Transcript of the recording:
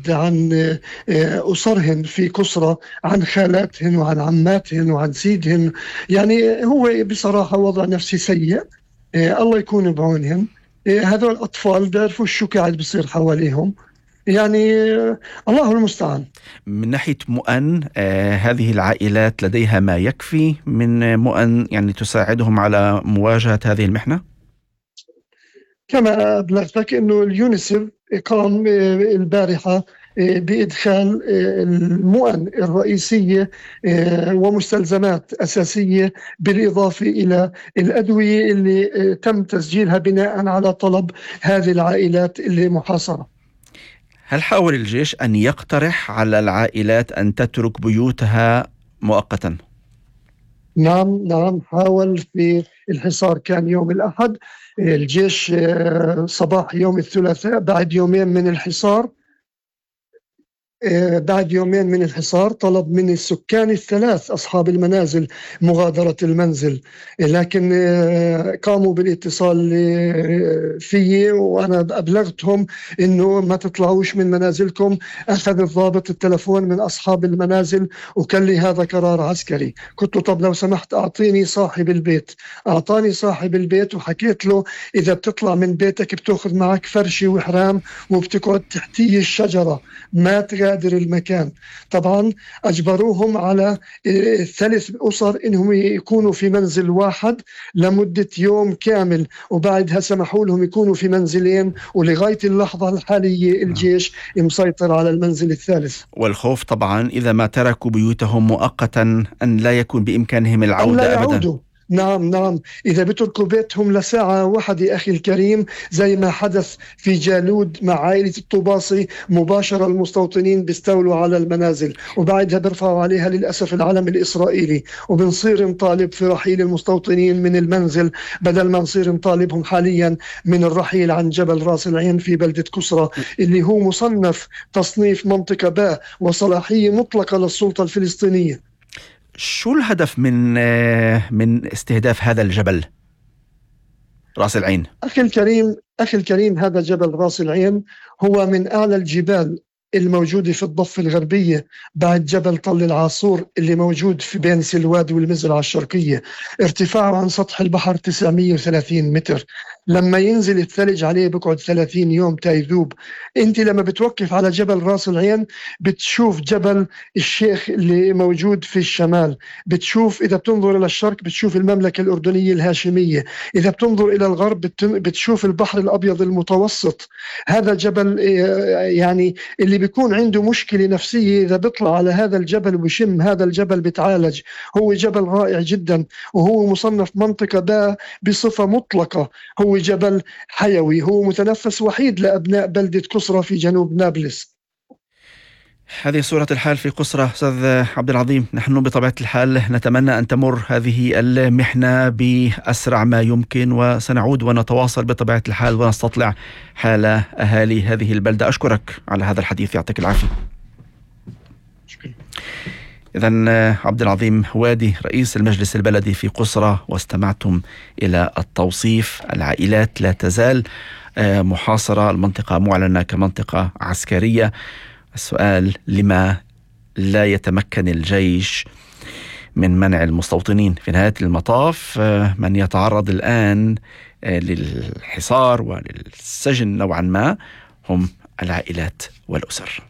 بعد عن أسرهن في قصرى، عن خالاتهن وعن عماتهن وعن سيدهن. يعني هو بصراحة وضع نفسي سيء. الله يكون بعونهم. هذول الأطفال بيعرفوا شو قاعد بصير حواليهم. يعني الله المستعان. من ناحية مؤن، هذه العائلات لديها ما يكفي من مؤن يعني تساعدهم على مواجهة هذه المحنة؟ كما أبلغتك أنه اليونيسف قام البارحة بإدخال المؤن الرئيسية ومستلزمات أساسية، بالإضافة إلى الأدوية اللي تم تسجيلها بناء على طلب هذه العائلات اللي محاصرة. هل حاول الجيش أن يقترح على العائلات أن تترك بيوتها مؤقتا؟ نعم حاول. في الحصار كان يوم الأحد، الجيش صباح يوم الثلاثاء بعد يومين من الحصار طلب من السكان الثلاث أصحاب المنازل مغادرة المنزل، لكن قاموا بالاتصال فيي وأنا أبلغتهم إنه ما تطلعوش من منازلكم. أخذ الضابط التلفون من أصحاب المنازل وقال لي هذا قرار عسكري. قلت له طب لو سمحت أعطيني صاحب البيت. أعطاني صاحب البيت وحكيت له إذا بتطلع من بيتك بتأخذ معك فرشة وحرام وبتقعد تحتي الشجرة، ما تغادر المكان. طبعا أجبروهم على 3 أسر إنهم يكونوا في منزل واحد لمدة يوم كامل، وبعدها سمحوا لهم يكونوا في منزلين، ولغاية اللحظة الحالية الجيش مسيطر على المنزل الثالث. والخوف طبعا إذا ما تركوا بيوتهم مؤقتا أن لا يكون بإمكانهم العودة أبدا. نعم إذا بتركوا بيتهم لساعة واحدة أخي الكريم، زي ما حدث في جالود مع عائلة الطباصي، مباشرة المستوطنين بيستولوا على المنازل وبعدها بيرفعوا عليها للأسف العلم الإسرائيلي، وبنصير نطالب في رحيل المستوطنين من المنزل بدل ما نصير نطالبهم حاليا من الرحيل عن جبل راس العين في بلدة كسرى اللي هو مصنف تصنيف منطقة باء وصلاحية مطلقة للسلطة الفلسطينية. شو الهدف من استهداف هذا الجبل راس العين؟ أخي الكريم هذا جبل راس العين هو من أعلى الجبال الموجودة في الضفة الغربية بعد جبل طل العاصور اللي موجود في بين سلواد والمزرعة الشرقية. ارتفاعه عن سطح البحر 930 متر. لما ينزل الثلج عليه بقعد 30 يوم تايذوب. انت لما بتوقف على جبل راس العين بتشوف جبل الشيخ اللي موجود في الشمال، بتشوف إذا بتنظر إلى الشرق بتشوف المملكة الأردنية الهاشمية، إذا بتنظر إلى الغرب بتشوف البحر الأبيض المتوسط. هذا جبل يعني اللي بيكون عنده مشكلة نفسية إذا بيطلع على هذا الجبل وبيشم هذا الجبل بتعالج. هو جبل رائع جدا وهو مصنف منطقة باء بصفة مطلقة. هو جبل حيوي، هو متنفس وحيد لأبناء بلدة كسرى في جنوب نابلس. هذه صورة الحال في قصرى. أستاذ عبد العظيم، نحن بطبيعة الحال نتمنى أن تمر هذه المحنة بأسرع ما يمكن، وسنعود ونتواصل بطبيعة الحال ونستطلع حال أهالي هذه البلدة. أشكرك على هذا الحديث، يعطيك العافية. إذن عبد العظيم هوادي رئيس المجلس البلدي في قصرى، واستمعتم إلى التوصيف. العائلات لا تزال محاصرة، المنطقة معلنة كمنطقة عسكرية. السؤال: لما لا يتمكن الجيش من منع المستوطنين؟ في نهاية المطاف من يتعرض الآن للحصار وللسجن نوعا ما هم العائلات والأسر.